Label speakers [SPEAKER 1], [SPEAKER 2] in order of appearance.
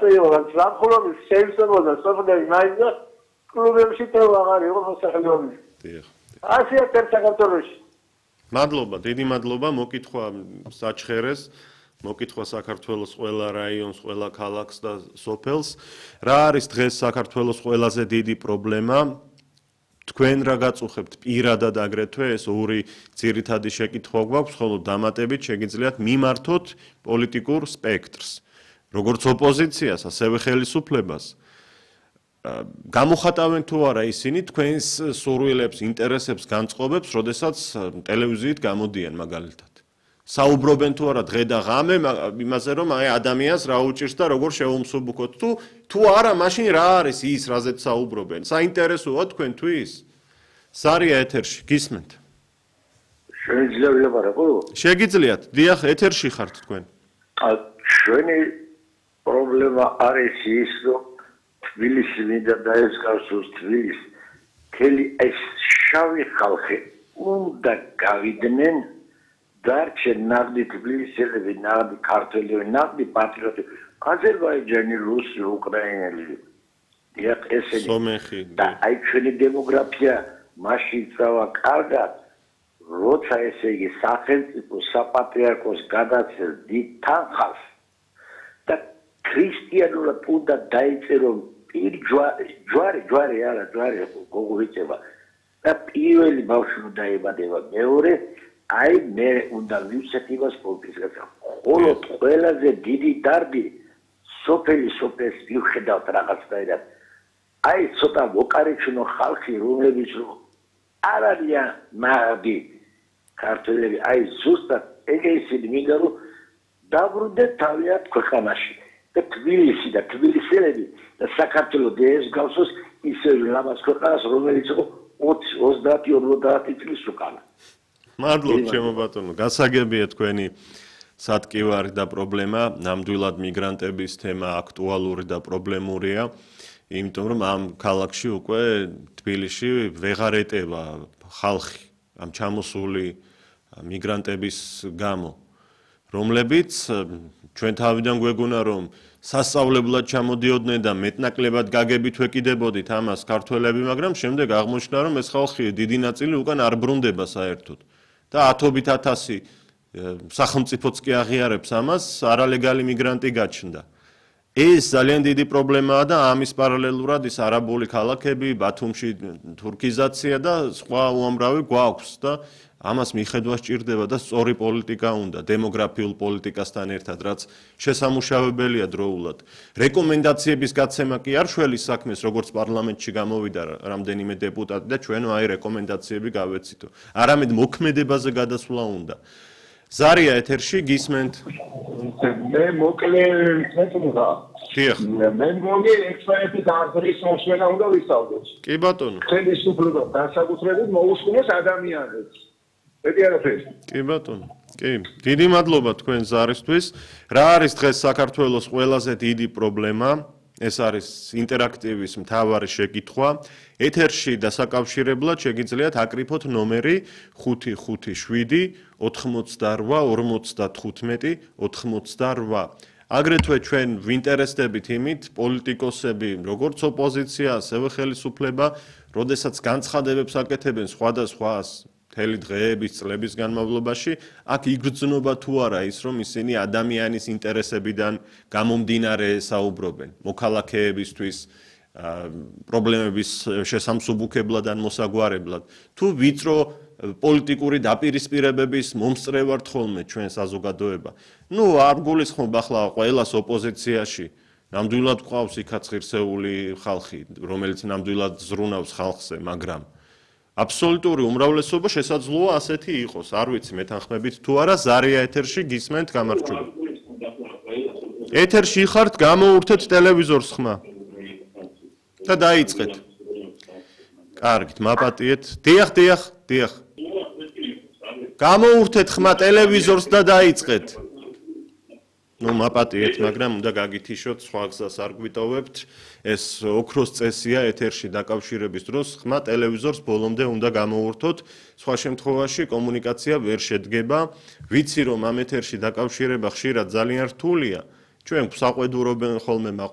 [SPEAKER 1] გაწევათ სამხლობის შეიმსებოდა სოფლები მაინდა კლუბებში თუ აღარ იყო მოსახლეობის.
[SPEAKER 2] დიახ.
[SPEAKER 1] ასია საქართველოში.
[SPEAKER 2] მადლობა, დიდი მადლობა, მოკითხვა საჩხერეს, მოკითხვა საქართველოს ყველა რაიონს, ყველა ქალაქს და სოფელს. რა არის დღეს საქართველოს ყველაზე დიდი პრობლემა? თქვენ რა გაწუხებთ პირადად აგრეთვე ეს ორი ძირითადი შეკითხვა გვაქვს, ხოლო დამატებით შეგიძლიათ მიმართოთ პოლიტიკურ სპექტრს, როგორც ოპოზიციას, ასევე ხელისუფლებას. გამოხატავენ თუ არა ისინი თქვენს სურვილებს, ინტერესებს, განწყობებს, როდესაც ტელევიზიით გამოდიან მაგალითად. საუბრობენ თუ არა დღე და ღამე იმაზე, რომ აი ადამიანს რა უჭირს და როგორ შევუმსუბუქოთ თუ არა, მაშინ რა არის ის, რაზეც საუბრობენ? საინტერესოა თქვენთვის? სარია ეთერში, გისმენთ?
[SPEAKER 3] შეიძლება ვილაპარაკო?
[SPEAKER 2] შეგიძლიათ, დიახ, ეთერში ხართ თქვენ.
[SPEAKER 3] ჩვენი პრობლემა არის ის, რომ თბილისი მინდა დაესკარსოს თბილისი. მთელი ეს შავი ხალხი უნდა გავიდნენ დარჩენ ნაღდი თბილისელები, ნაღდი ქართველები, ნაღდი პატრიოტები, აზერბაიჯანი, რუსი, უკრაინელი. დიახ, ესენი.
[SPEAKER 2] სომეხი.
[SPEAKER 3] და აი ჩვენი დემოგრაფია მაშინ წავა კარგად, როცა ესე იგი სახელმწიფო საპატრიარქოს გადაცეს დიდ თანხას და ქრისტიანულად უნდა დაიწერო ჯვარი არა, ჯვარი გოგოიწება და პირველი ბავშვი უნდა დაებადება მეორე აი მე უნდა ვივცეთ იმას პოლიტიკას. ხოლო ყველაზე დიდი დარდი სოფელს ვიხედავთ რაღაცნაირად. აი ცოტა ვოკარეჩნო ხალხი, რომლებიც არ არიან ნაღდი ქართველები, აი ზუსტად ეგეისინი მინდა რომ დაბრუნდეთ თავიანთ ქვეყანაში და თბილისი და თბილისელები და საქართველოს ეს გავსოს ისე ლამაზ ქვეყანას, რომელიც იყო 20-50 წლის უკან.
[SPEAKER 2] მადლობ ჩემო ბატონო, გასაგებია თქვენი სატკივარი და პრობლემა, ნამდვილად მიგრანტების თემა აქტუალური და პრობლემურია, იმიტომ რომ ამ ქალაქში უკვე თბილისში ვეღარ ეტევა ხალხი ამ ჩამოსული მიგრანტების გამო, რომლებიც ჩვენ თავიდან გვეგონა რომ სასწავლებლად ჩამოდიოდნენ და მეტნაკლებად გაგებით ვეკიდებოდით ამას ქართველები, მაგრამ შემდეგ აღმოჩნდა რომ ეს ხალხი დიდი ნაწილი უკან არ ბრუნდება საერთოდ. და ათობით ათასი სახელმწიფოც კი აღიარებს ამას, არალეგალი მიგრანტი გაჩნდა. ეს ძალიან დიდი პრობლემაა და ამის პარალელურად ის არაბული ქალაქები, ბათუმში თურქიზაცია და სხვა უამრავი გვაქვს და ამას მიხედვა სჭირდება და სწორი პოლიტიკა უნდა, დემოგრაფიულ პოლიტიკასთან ერთად, რაც შესამუშავებელია დროულად. რეკომენდაციების გაცემა კი არ შველის საქმეს, როგორც პარლამენტში გამოვიდა რამდენიმე დეპუტატი და ჩვენო აი რეკომენდაციები გავეცითო. არამედ მოქმედებაზე გადასვლა უნდა. ზარია ეთერში გისმენთ?
[SPEAKER 4] მე მოკლე მეტყვა.
[SPEAKER 2] დიახ.
[SPEAKER 4] მე მგონი ექსპერტი დაარსების მოსვენა უნდა ვისწავლოთ.
[SPEAKER 2] კი ბატონო.
[SPEAKER 4] ხელისუფლება განსაკუთრებით მოუსმინოს ადამიანებს. მეტი არაფერი.
[SPEAKER 2] კი ბატონო. კი, დიდი მადლობა თქვენ ზარისთვის. რა არის დღეს საქართველოს ყველაზე დიდი პრობლემა? ეს არის ინტერაქტივის მთავარი შეკითხვა. ეთერში დასაკავშირებლად შეგიძლიათ აკრიფოთ ნომერი 557 88 55 აგრეთვე ჩვენ ვინტერესდებით იმით, პოლიტიკოსები, როგორც ოპოზიცია, ასევე ხელისუფლება, როდესაც განცხადებებს აკეთებენ სხვადასხვა მთელი დღეების, წლების განმავლობაში, აქ იგრძნობა თუ არა ის, რომ ისინი ადამიანის ინტერესებიდან გამომდინარე საუბრობენ, მოქალაქეებისთვის, პრობლემების შესამსუბუქებლად ან მოსაგვარებლად, თუ ვიწრო პოლიტიკური დაპირისპირებების მომსწრე ვართ ხოლმე ჩვენ საზოგადოება. არ გულისხმობ ახლა ყველას ოპოზიციაში, ნამდვილად ყავს იქაც ღირსეული ხალხი, რომელიც ნამდვილად ზრუნავს ხალხზე, მაგრამ აბსოლუტური უმრავლესობა შესაძლოა ასეთი იყოს, არ ვიცი მეთანხმებით თუ არა, ზარია ეთერში გისმენთ, გამარჯობა. ეთერში ხართ, გამოურთეთ ტელევიზორს ხმა. და დაიწყეთ. კარგით, მაპატიეთ. დიახ. გამოურთეთ ხმა ტელევიზორს და დაიწყეთ. მაპატიეთ, მაგრამ უნდა გაგითიშოთ, სხვა გზას არ გვიტოვებთ. ეს ოქროს წესია ეთერში დაკავშირების დროს, ხმა ტელევიზორს ბოლომდე უნდა გამოურთოთ. სხვა შემთხვევაში კომუნიკაცია ვერ შედგება. ვიცი რომ ამ ეთერში დაკავშირება ხშირად ძალიან რთულია. ჩვენ გვსაყვედურობენ ხოლმე